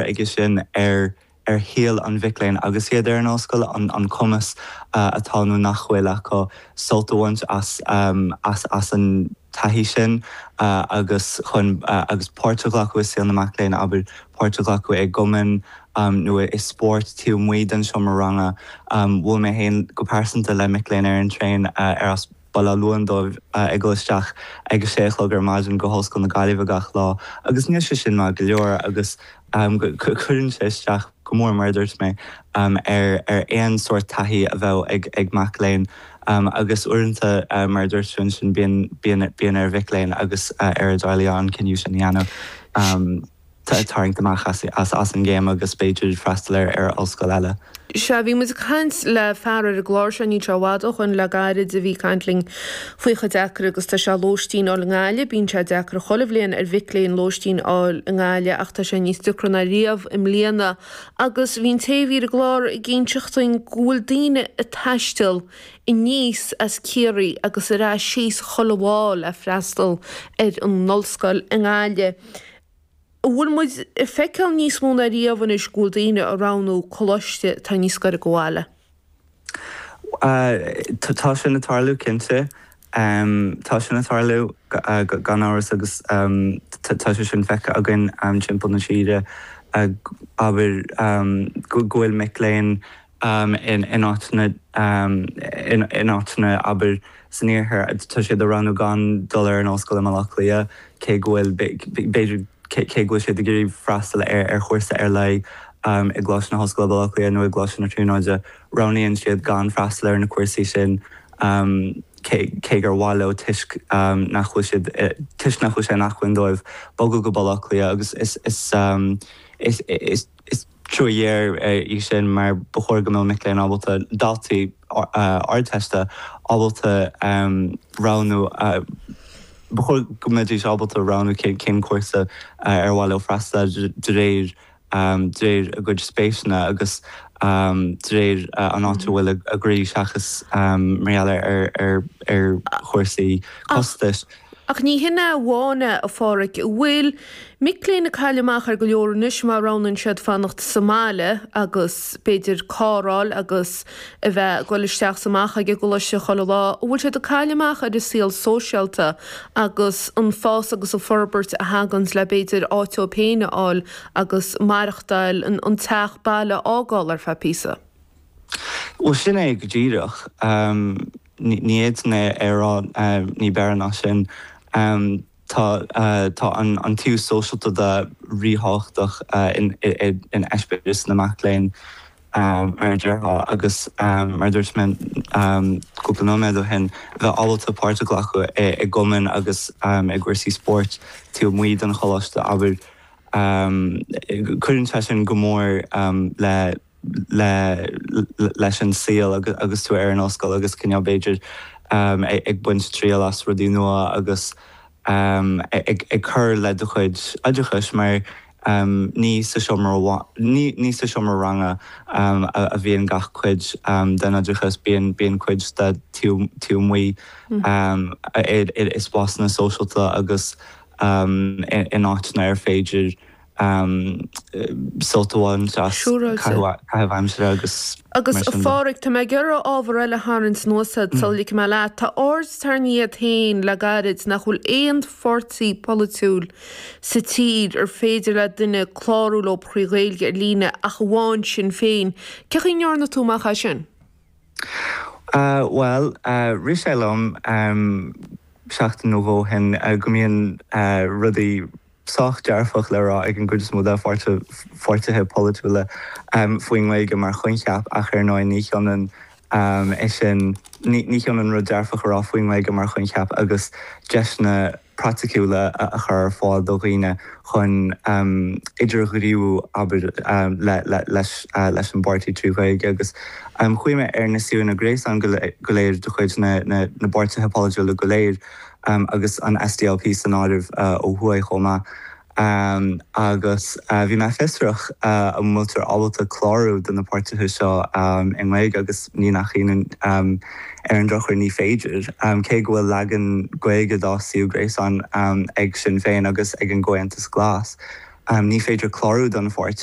aige sin ar ar shaol an mhic léinn agus iad ar an ollscoil, an cumas atá nó nach bhfuil acu sult a bhaint as as an taithí sin agus chun agus páirt a ghlacadh i saol na mac léinn, abair, páirt a ghlacadh i gcumainn nó i spórt taobh amuigh den seomra ranga. Bhuail mé féin go pearsanta le mic léinn ar an traein ar as Baile Átha Luain dóibh ag dul isteach ag a sé a chlog ar maidin go hOllscoil na Gaillimhe gach lá agus níl sé sin maith go leor agus cuireann sé isteach go mór, mar a dúirt mé, ar aon sórt taithí a bheadh ag mac léinn agus uaireanta, mar a dúirt tú ansin, bíonn ar mhic léinn agus ar a dteaghlaigh an cinneadh sin a dhéanamh. tarraingt amach as an gcéim agus b'fhéidir freastal ar ollscoil eile. Sea, bhí muid ag caint le fear ar an gclár seo, níl sé i bhfad ó shoin, le gairid, a bhí ag caint linn faoi chomh deacair agus tá sé lóistín a fháil i nGaillimh. Bíonn sé deacair chuile bhliain ar mhic léinn lóistín a fháil i nGaillimh ach tá sé níos deacra ná riamh i mbliana. Agus bhí an té a bhí ar an gclár ag inseacht dúinn go bhfuil daoine ag taisteal aníos as Ciarraí agus ar ais síos chuile lá le freastal ar an ollscoil i nGaillimh. An bhfuil muid ag feiceáil níos mó ná riamh anois go bhfuil daoine ag roghnú coláiste atá níos gaire go bhaile? Tá sin ag tarlú, cinnte. Tá sin ag tarlú gan amhras agus tá sé sin feicthe againn timpeall na tíre, abair, go bhfuil mic léinn in áiteanna, in áiteanna, abair, san iarthar, tá siad ag roghnú gan dul ar an ollscoil i mBaile Átha Cliath, cé go bhfuil, b'fhéidir, cé go bhfuil siad ag iarraidh freastal ar chúrsa ar leith i gColáiste na hOllscoile Baile Átha Cliath nó i gColáiste na Tríonóide, roghnaíonn siad gan freastal ar na cúrsaí sin cé gur mhaith leo toisc nach bhfuil siad, toisc nach bhfuil sé in acmhainn dóibh bogadh go Baile Átha Cliath agus is, is, is, is. Is trua ghéar í sin mar ba chóir go mbeadh mic léinn ábalta, daltaí Ardteiste ábalta roghnú, ba chóir go mbeidís ábalta roghnú cén cúrsa ar mhaith leo freastal air de réir de réir a gcuid spéiseanna agus de réir an áit a bhfuil a gcroí seachas mar gheall ar ar chúrsaí costais. Ach ní hin é amháin é, a Pháraic. An bhfuil mic léinn ag cailleadh amach ar go leor anois má roghnaíonn siad fanacht sa mbaile agus b'fhéidir carr a fháil agus a bheith ag dul isteach 's amach ag an gcoláiste chuile lá, an bhfuil siad ag cailleadh amach ar an saol sóisialta agus an fás agus an forbairt a thaganns le b'fhéidir áit dóibh féin a fháil agus maireachtáil, an teach baile a fhágáil ar feadh píosa? Bhuel, sin é go díreach. Ní fhéadfainn é a rá ní b'fhearr ná sin. Tá tá an taobh sóisialta de ríthábhachtach in eispéireas na mac léinn, mar a déarfá, agus mar a dúirt mé cúpla nóiméad ó shin, bheith ábalta páirt a ghlacadh i gcumainn agus i gcúrsaí spóirt taobh amuigh den choláiste, abair. Cuireann sé sin go mór le le leis an saol agus tú ar an ollscoil agus cineál b'fhéidir ag baint triail as rudaí nua agus ag cur le do chuid oideachais mar ní sa seomra ní sa seomra ranga a bhíonn gach cuid den oideachas, bíonn bíonn cuid de taobh amuigh i spásanna sóisialta agus in áiteanna ar féidir sult a bhaint as caitheamh aimsire agus Agus mar a sin de. Pháraic, tá mé ag iarraidh ábhar eile a tharraingt anuas ort sula ligfidh mé leat. Tá aird tarraingthe iad féin le gairid nach bhfuil aon pháirtí polaitiúil sa tír ar féidir le duine clárú leo trí Ghaeilge ar líne ach amháin Sinn Féin. Cén chaoi a ndearna tú amach é sin? Bhuel, rith sé liom seachtain nó dhó ó shin go mbíonn rudaí sách dearfach le rá ag an gcuid is mó de pháirtithe polaitiúla faoin nGaeilge mar choincheap ach ar ndóigh ní hionann é sin, ní hionann rud dearfach a rá faoin nGaeilge mar choincheap agus deiseanna praiticiúla a chur ar fáil do dhaoine chun idirghníomhú, abair, leis an bpáirtí trí Ghaeilge. Agus chuaigh mé ar na suíomhanna gréasáin go léir de chuid na bpáirtithe polaitiúla go léir agus an SDLP san áireamh ó thuaidh chomh maith. Agus bhí mé fiosrach an bhfuiltear ábalta clárú do na páirtithe seo i nGaeilge agus ní nach ionadh, ar an drochuair ní féidir, cé go bhfuil leagan Gaeilge dá suíomh gréasáin ag Sinn Féin agus ag an gComhaontas Glas. Ní féidir clárú don pháirtí.